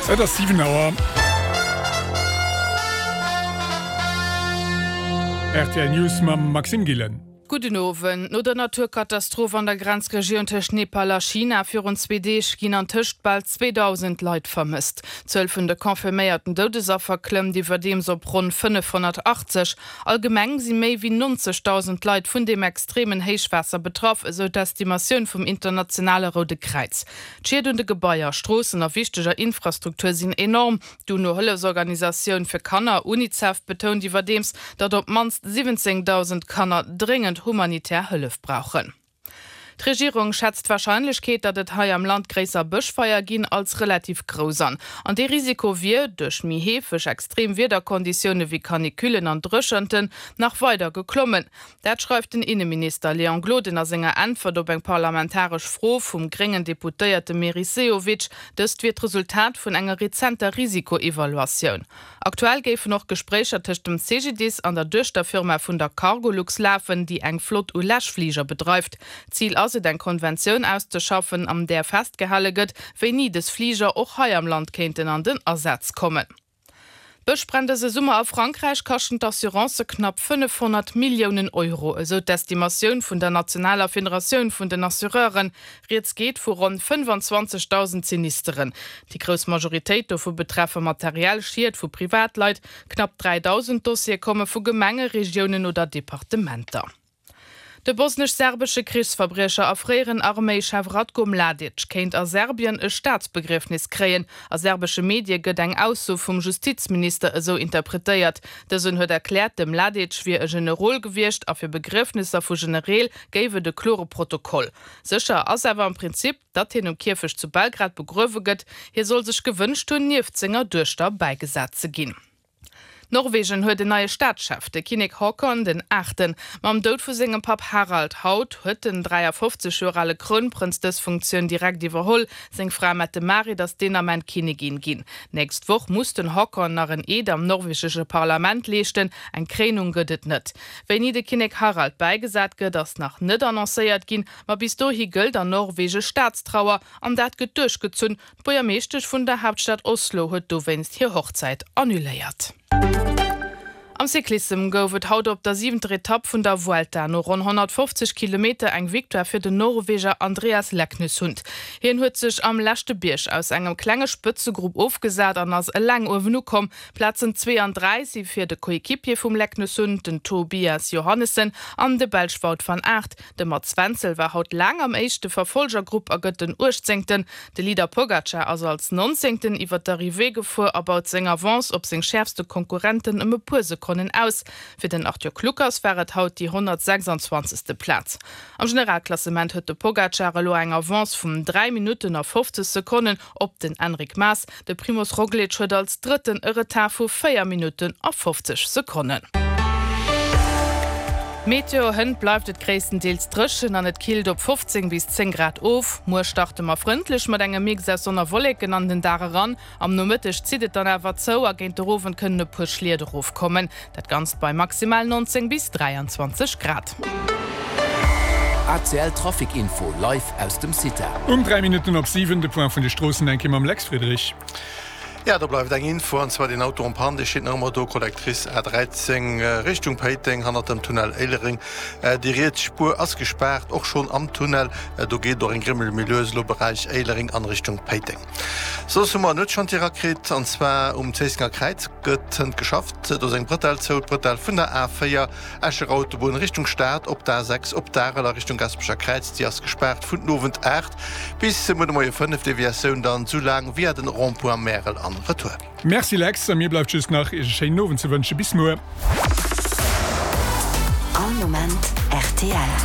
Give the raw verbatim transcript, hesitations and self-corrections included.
Et ass siwen Auer. Rtl News mam Maxime Gillen. Gudden Owend. No der Naturkatastroph an der Grenzregioun tëscht Nepal a China virun zwee Deeg ginn an tëscht bal zweedausend Leit vermësst. D'Zuel vun de confirméierten Doudesaffer klëmmt iwwerdeems op ronn fënnefhonnertachtzeg. Allgemeng si méi wéi nonzegdausend Leit vun deem extremen Héichwaasser betraff, esou d'Estimatioun vum internationale Roude Kräiz. D'Schied un de Gebaier, Stroossen a wichteger Infrastruktur sinn enorm. D'UNO-Hëllefsorganisatioun fir Kanner, Unicef, betount iwwerdeems, datt op d'mannst siwwenzéngdausend Kanner dréngend humanitär Hëllef brauchen. D'Regierung schätzt d'Warscheinlechkeet, datt et hei am Land gréisser Bëschfeier ginn, als relativ grouss an. An dee Risiko wier, duerch méi heefeg extrem Wiederkonditioune wéi Canicullen an Dréchenten, nach weider geklommen. Dat schreift den Inneminister Léon Gloden a senger Äntwert op eng parlamentaresch Fro vum gréngen Deputéierte Meris Sehovic. Dëst wier d'Resultat vun enger rezenter Risikoevaluatioun. Aktuell géifen och Gespréicher tëscht dem C G D I S an der Duechterfirma vun der Cargolux lafen, déi eng Flott u Läschfliger bedreift. Zil ass et, eng Konventioun auszeschaffen, an där festgehale gëtt, wéini dës Fliger och hei am Land kéinten an den Asaz kommen. D'Bëschbränn dëse Summer a Frankräich kaschten d'Assurancë knapp fënnefhonnert Milliounen Euro, esou d'Estimatioun vun der nationaler Federatioun vun den Assureuren. Rieds geet vu ronn fënnefanzwanzegdausend Sinisteren. Déi grouss Majoritéit dovu betreffe materiell Schied vu Privatleit. Knapp dräidausend Dossiere komme vu Gemenge, Regiounen oder Departementer. De bosnesch-serbesche Krichsverbriecher a fréieren Arméischef Ratko Mladic kéint a Serbien e Staatsbegriefnis kréien. A serbesche Medie gëtt eng Ausso vum Justizminister esou interpretéiert. Dësen huet erkläert, de Mladic wier e Generol gewiescht a fir Begriefnisser vu Genereel géif et e klore Protokoll. Sécher ass awer am Prinzip, datt hien um Kierfecht zu Belgrad begruewe gëtt. Hie soll sech gewënscht hunn, nieft senger Duechter bäigesat ze ginn. Norwegen huet en neie Staatschef, de Kinnek Haakon den Aachten. Mam Doud vu sengem Papp Harald haut huet den dräiafofzeg Joer ale Krounprënz dës Funktioun direkt iwwerholl. Seng Fra Mette-Marit ass deen Ament Kinnigin ginn. Nächst Woch muss den Haakon nach en Eed am norwegesche Parlament leeschten, eng Kréinung gëtt et net. Wéini de Kinnek Harald bäigesat gëtt, ass nach net annoncéiert ginn, ma bis dohi gëllt an Norwege Staatstrauer an dat gëtt duerchgezunn. D'Buergermeeschtesch vun der Haaptstad Oslo huet dowéinst hir Hochzäit annuléiert. Am Cyclissem gouf et haut op der siwenter Etapp vun der Vuelta no ronn honnertfofzeg Kilometer eng Victoire fir den Norweger Andreas Leknessund. Hien huet sech am leschte Bierg aus engem klenge Spëtzegrupp ofgesat an ass eleng uewen ukomm. Plazen zwee an dräi si fir de Coéquipier vum Leknessund, den Tobias Johannessen, an de Belsch Wout van Aert. De Mats Wenzel war haut laang am éischte Verfolgergrupp a gëtt den Uechtzéngten. De Leader Pogacar ass als Nonzéngten iwwer d'Arrivée gefuer a baut seng Avance op seng schäerfste Konkurrenten ëm e puer Sekonnen aus. Fir den Arthur Kluckers war et haut déi honnertsechsanzwanzegste Plaz. Am Generalklassement huet de Pogacar elo eng Avance vun dräi Minutten a fofzeg Sekonnen op den Enric Mas. De Primoz Roglic huet als Drëtten e Retard vu véier Minutten a fofzeg Sekonnen. Meteo, Hënt bleift et gréisstendeels dréchen an et killt op fofzéng bis zéng Grad of. Muer starte mer frëndlech mat engem Mix aus Sonn a Wolleken an den Dag eran. Am Nomëtteg zitt et dann awer zou a géint de Owend kënnen e puer Schliet erofkommen. Dat Ganzt bei maximal neunzéng bis dräianzwanzeg Grad. A C L Trafic Info live aus dem CITA. Um dräi Minutten op siwen de Point vun de Stroossen eng Kéier mam Lex Friedrich. Jo, do bleift eng Info, an zwar deen Auto en panne, dee steet nach ëmmer do, Collectrice A dräizéng Richtung Péiteng, hannert dem Tunnel Éilereng. Déi riets Spuer ass gespaart, och schonn am Tunnel. Do geet et och eng Grimmel méi lues elo Beräich Éilereng an Richtung Péiteng. Soss hu mer en Nuetschantier erakritt, an zwar um Zéissenger Kräiz gëtt hënt geschafft. Do ass eng Bretelle zou, d'Bretelle vun der A véier Escher Autobunn Richtung Stad op d'A sechs op d'Arel a Richtung Gasperecher Kräiz. Déi ass gespaart vun den Owend aacht bis muer de Moie fënnef, Deviatioun dann esou laang via den Rond-point Märel an retour. Merci Lex, a mir bleift just nach Iech e schéinen Owend ze wënschen. Bis muer. All Moment rtl.